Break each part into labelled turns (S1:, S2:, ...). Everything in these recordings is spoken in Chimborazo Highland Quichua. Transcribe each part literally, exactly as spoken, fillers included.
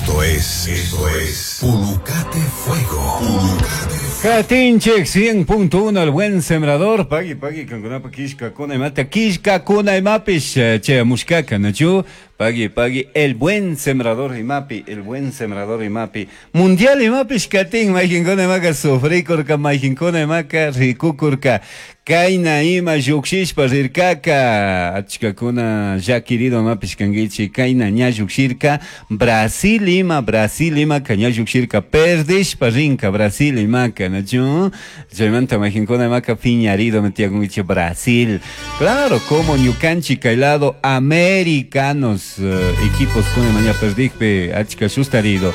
S1: Esto es, esto es Pulucate Fuego. Pulucate
S2: Katinchik cien punto uno, el buen sembrador. Pagui, pagui, kankunapa kishkakuna imata, kishkakuna imapish, che, mushkaka, nachu. Pagui, pagui, el buen sembrador imapi, el buen sembrador imapi. Mundial imapish katin, mayjinkuna imaka sufrikurka, mayjinkuna imaka rikukurka. Kayna ima llukshishpa rirkaka, achkakuna llakirido imapish kankichik, kayna ña llukshirka, Brasil ima, Brasil imaka ña llukshirka, perdishpa rinka, Brasil imaka, nachu? Chaymanta mayjinkuna imaka piñarido metiakunkichik Brasil. Claro, como ñukanchik kay lado americanos, eh, equipos kuna maña perdikpi, achka sustarido.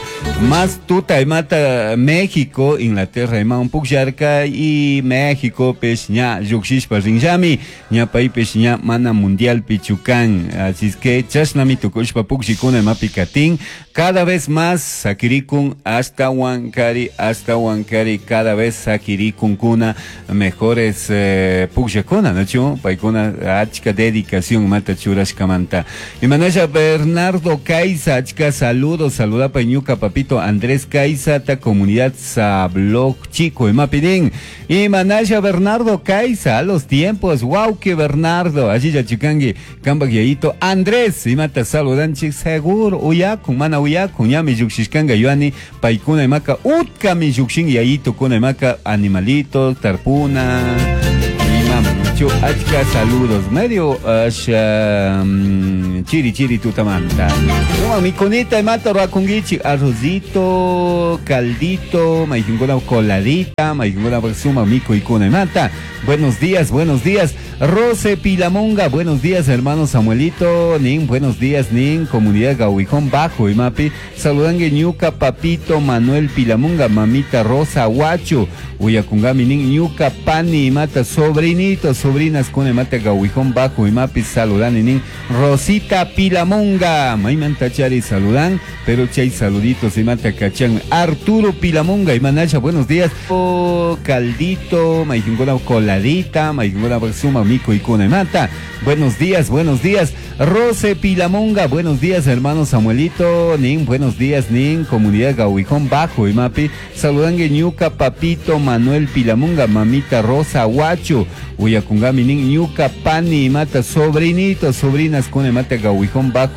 S2: Más tuta imata México, Inglaterra ima un pukllarka y México pes ña llukshishpa rinllami, ña paypish ña mana mundial pichukan. Así es que chashnami tukushpa pukllikuna imapi katin, cada vez más sakirikun hasta Huancari, hasta Huancari, cada vez sakirikunkuna mejores, eh, pukllakuna, ¿no? Paykuna achka dedicación mata churashkamanta. Y manasha Bernardo Caiza, achka saludos, saludapa ñuka papito Andrés Caiza, ta comunidad Sablog Chico, imapidín. Y manasha Bernardo Caiza, a los tiempos, guau que Bernardo, allí ya chicangi, kamba guiaito, Andrés, imata saludanchi, seguro, uyakun, mana uyakun, ñami yuxishkanga yuani, paikuna imaka, utka mi yuxin yayito kuna imaka, animalito, tarpuna, imam, chu, achka saludos, medio, asha, mm, chiri chiri tutamanta. Toma, mi conita imata rakungichi, arrocito, caldito, maijungona coladita, maijungona suma mico y cuna imata. Buenos días, buenos días. Rose Pilamonga, buenos días, hermano Samuelito, Nin, buenos días, Nin, comunidad Gahuijón Bajo, Imapi, saludan Ñuca, Papito, Manuel Pilamonga, mamita Rosa Huacho, Uyacungami, Nin, Ñuca, Pani, Imata, sobrinitos, sobrinas, con Imata, Gahuijón Bajo, Imapi, saludan, Nin, Rosita Pilamonga, Maimanta Chari, saludan, pero chay saluditos, Imata, Cachán, Arturo Pilamonga, Imanacha, buenos días, oh, Caldito, Maijungona, Coladita, Maijungona, Suma, Mico y Cuna Mata. Buenos días, buenos días. Rose Pilamonga, buenos días, hermano Samuelito, Nin, buenos días, Nin, comunidad Gahuijón Bajo, Imapi, saludan Ñuca, Papito, Manuel Pilamonga, mamita Rosa Huacho, Uyacungami, Nin, Ñuca, Pani, Mata, sobrinitos, sobrinas, con Mata, Gahuijón Bajo.